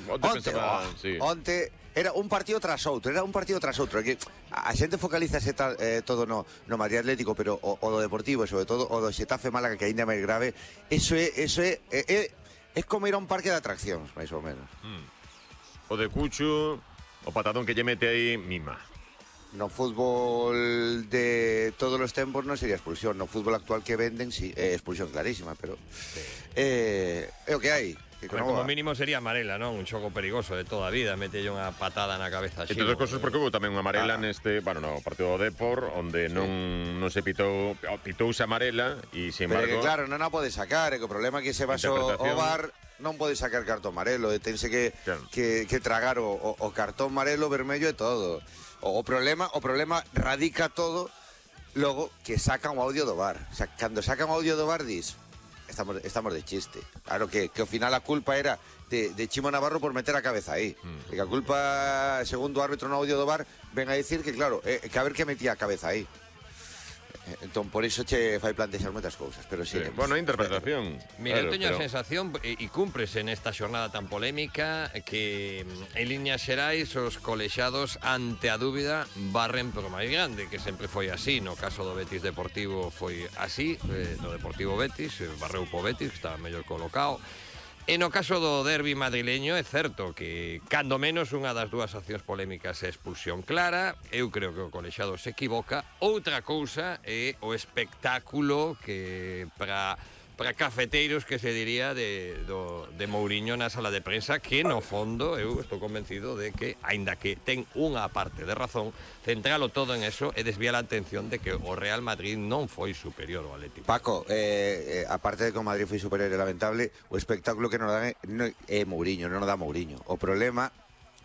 Onte era un partido tras outro, que a xente focalízase todo no Madrid Atlético, pero o do Deportivo, e sobre todo o do Xetafe Málaga, que ainda é máis grave. Eso é como ir a un parque de atraccións, máis ou menos. O de Cucho, o patadón que lle mete aí, mima. No fútbol de todos os tempos non sería expulsión. No fútbol actual que venden, sí, é expulsión clarísima, pero é o que hai. Como mínimo sería amarela, non? Un xogo perigoso de toda a vida, mete unha patada na cabeza. Entre outras cosas, porque houve tamén unha amarela neste, no partido do Depor, onde non se pitouse amarela e, sin embargo... Pero que claro, non a pode sacar, que o problema é que se basou o VAR non pode sacar cartón amarelo, tense que tragar o cartón amarelo, vermello e todo. O problema radica todo logo que sacan o audio do VAR. O sea, cando sacan o audio do VAR dis... Estamos de chiste. Claro que ao final a culpa era de Chimo Navarro por meter a cabeza aí. E que a culpa, segundo o árbitro no audio do VAR, ven a dicir que, claro, que a ver que metía a cabeza aí. Entón, por iso che fai plantexar moitas cousas, pero sí. Bueno, interpretación. Mira, eu teño a sensación, e cúmprese nesta xornada tan polémica, que en líneas xerais os colexados, ante a dúbida, barren por máis grande, que sempre foi así. No caso do Betis Deportivo foi así, no Deportivo Betis, barreu po Betis, que estaba mellor colocado. E no caso do derbi madrileño é certo que, cando menos, unha das dúas accións polémicas é expulsión clara. Eu creo que o colexado se equivoca. Outra cousa é o espectáculo que para cafeteiros, que se diría, de Mouriño na sala de prensa, que no fondo eu estou convencido de que, aínda que ten unha parte de razón, centralo todo en eso e desvía a atención de que o Real Madrid non foi superior ao Atlético. Paco, aparte de que o Madrid foi superior e lamentable, o espectáculo que nos dan é Mouriño, non nos dá Mouriño. O problema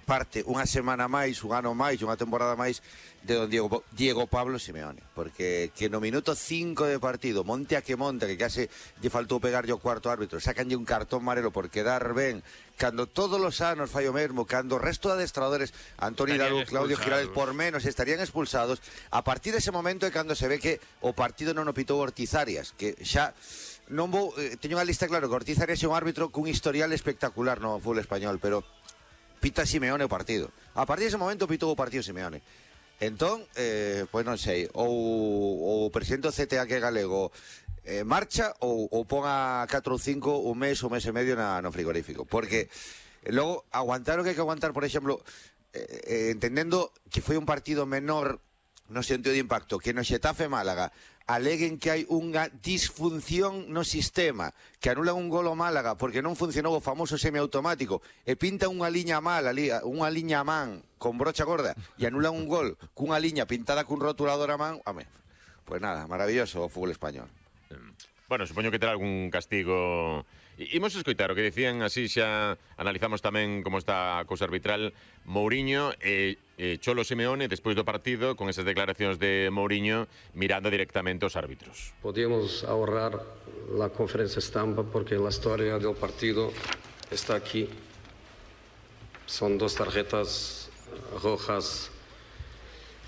parte unha semana máis, un ano máis, unha temporada máis de don Diego Pablo Simeone, porque que no minuto 5 de partido, monte a que monta, que case lle faltou pegarlle o cuarto árbitro, sacanlle un cartón amarelo por quedar ben, cando todos os anos fai o mesmo, cando o resto de adestradores, Antoni Dalu, Claudio Giraldez, por menos estarían expulsados. A partir dese momento é cando se ve que o partido non o pitou Ortiz Arias, que xa non vou, teño unha lista claro que Ortiz Arias é un árbitro cun historial espectacular no fútbol español, pero pita Simeone o partido. A partir dese momento pitou o partido Simeone. Entón, pois non sei, ou o presidente do CTA, que é galego, marcha ou pon a 4 ou 5 un mes e medio no frigorífico. Porque logo aguantar o que hai que aguantar, por exemplo, entendendo que foi un partido menor no sentido de impacto, que no Xetafe Málaga aleguen que hai unha disfunción no sistema, que anulan un gol ao Málaga porque non funcionou o famoso semiautomático e pintan unha liña mal ali, unha liña a man con brocha gorda e anulan un gol cunha liña pintada cun rotulador a man. Pues nada, maravilloso o fútbol español. Bueno, supoño que terá algún castigo. Imos escoitar o que dicían, así xa analizamos tamén como está a cousa arbitral. Mouriño e Cholo Simeone despois do partido, con esas declaracións de Mouriño mirando directamente aos árbitros. Podíamos ahorrar la conferencia estampa porque la historia del partido está aquí. Son dos tarjetas rojas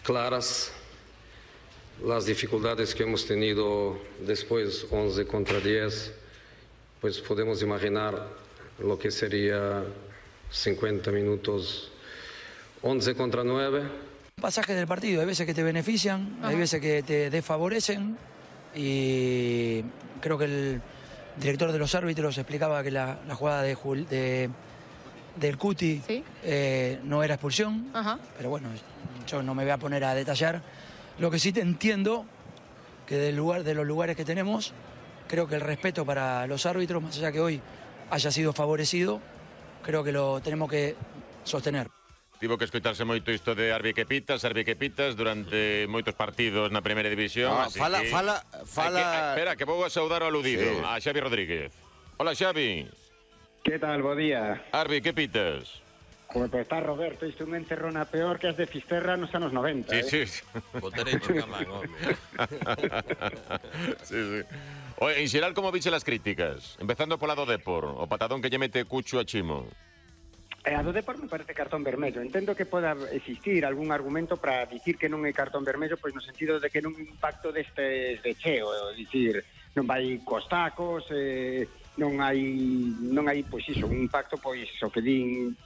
claras. Las dificultades que hemos tenido después 11 contra 10, pues podemos imaginar lo que sería 50 minutos 11 contra 9. Pasajes del partido, hay veces que te benefician, hay veces que te desfavorecen, y creo que el director de los árbitros explicaba que la jugada del Cuti no era expulsión, pero bueno, yo no me voy a poner a detallar. Lo que sí te entiendo, que de los lugares que tenemos, creo que el respeto para los árbitros, más allá que hoy haya sido favorecido, creo que lo tenemos que sostener. Tivo que escoitarse moito isto de Arbi que pitas durante moitos partidos na primeira división. Fala. Espera, que vou a saudar ao aludido, a Xavi Rodríguez. Hola, Xavi. Que tal, bo día. Arbi, que pitas? Como pues está Roberto, isto unha encerrona peor que as de Fisterra nos anos 90. Sí. O derecho camán, home. Sí. Oye, en xeral, como viche las críticas? Empezando pola do Depor, o patadón que lle mete Cucho a Chimo. A do Depor me parece cartón vermello. Entendo que poda existir algún argumento para dicir que non é cartón vermello, pois no sentido de que non impacto destes de cheo, dicir, non vai cos tacos, non hai pois iso, un impacto, pois o que din